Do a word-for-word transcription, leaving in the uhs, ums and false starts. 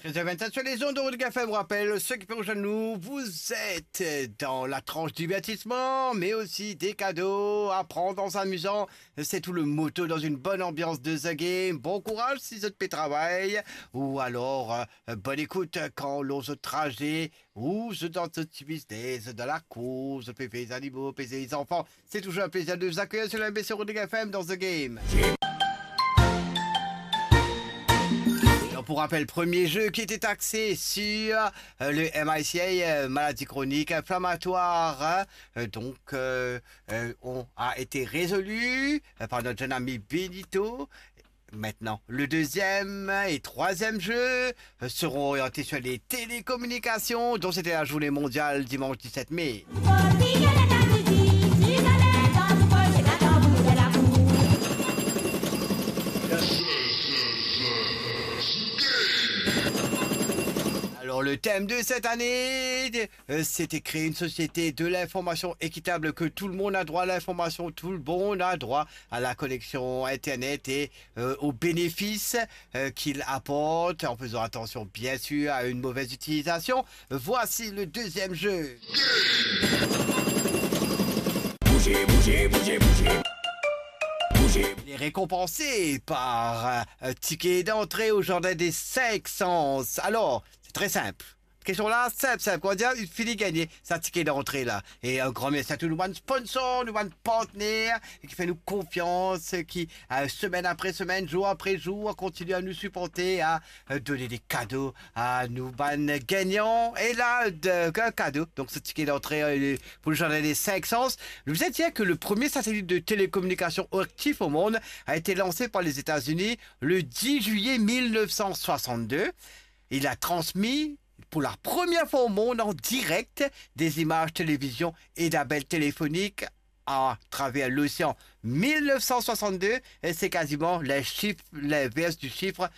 Treize heures vingt-sept sur les ondes de Rodrigue F M. Rappel, ceux qui peuvent rejoindre nous, vous êtes dans la tranche divertissement, mais aussi des cadeaux à prendre en s'amusant. C'est tout le motto dans une bonne ambiance de The Game. Bon courage si vous êtes travail, ou alors, euh, bonne écoute quand l'on se trajet ou zot dan zot ti biznes, zot dan lakour, zot pe vey zanimo, pe vey zanfan. C'est toujours un plaisir de vous accueillir sur la M B C Rodrigue F M dans The Game. Alors, pour rappel, premier jeu qui était axé sur, euh, le M I C A, euh, maladie chronique inflammatoire, hein. Euh, donc, euh, euh, on a été résolu, euh, par notre jeune ami Benito. Maintenant, le deuxième et troisième jeu, euh, seront orientés sur les télécommunications, dont c'était la journée mondiale dimanche dix-sept mai. Alors, le thème de cette année, euh, c'était créer une société de l'information équitable, que tout le monde a droit à l'information, tout le monde a droit à la connexion Internet et, euh, aux bénéfices, euh, qu'il apporte, en faisant attention, bien sûr, à une mauvaise utilisation. Voici le deuxième jeu. Bougez, bougez, bougez, bougez. Bougez. Il est récompensé par, euh, un ticket d'entrée au Jardin des Cinq Sens. Alors, c'est très simple. Kestion la, sinp, sinp. Kan ou dir, ou fini gagne sa ticket d'entrée la. Et un grand merci à tous nos bann sponsor, nos bann partner, ki fer nou konfians, ki, euh, semaine après semaine, jour après jour, continue à nous supporter, à, euh, donner des cadeaux à nos bann gagnants. Et là, de, un cadeau. Donc, ce ticket d'entrée, euh, pour le Jardin des Cinq Sens. Je vous ai dit que le premier satellite de télécommunication actif au monde a été lancé par les États-Unis le dix juillet mille neuf cent soixante-deux. Il a transmis pour la première fois au monde en direct des images télévision et d'appels téléphoniques à travers l'océan. Mille neuf cent soixante-deux, et c'est quasiment les chiffres, l'inverse du chiffre, euh,